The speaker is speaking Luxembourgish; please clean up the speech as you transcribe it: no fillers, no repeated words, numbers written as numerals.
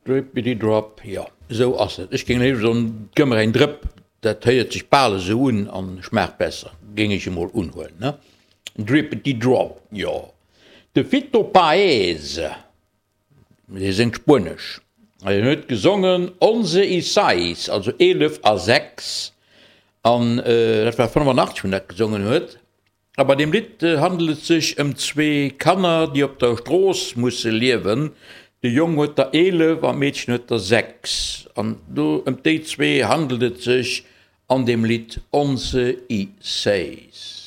Drippity drop, jo esou ass et. Ech géing léiwer soen, gëmm mer eng Drëpp, dat héiert sech bal esou un an schmaacht besser, géing ech emol unhuelen, ne? Drippity drop, jo. De Fito Paez, dee séngt Spuenesch, an hien huet gesongen Once y seis, also 11 a 6, an dat war 85, wou en dat gesongen huet. A bei deem Lidd handelt et sech ëm zwee Kanner, déi op der Strooss musse liewen. De Jong huet der 11 an d'Meedchen huet der 6. An do ëm déi zwee handelt et sech an deem Lidd Once y seis.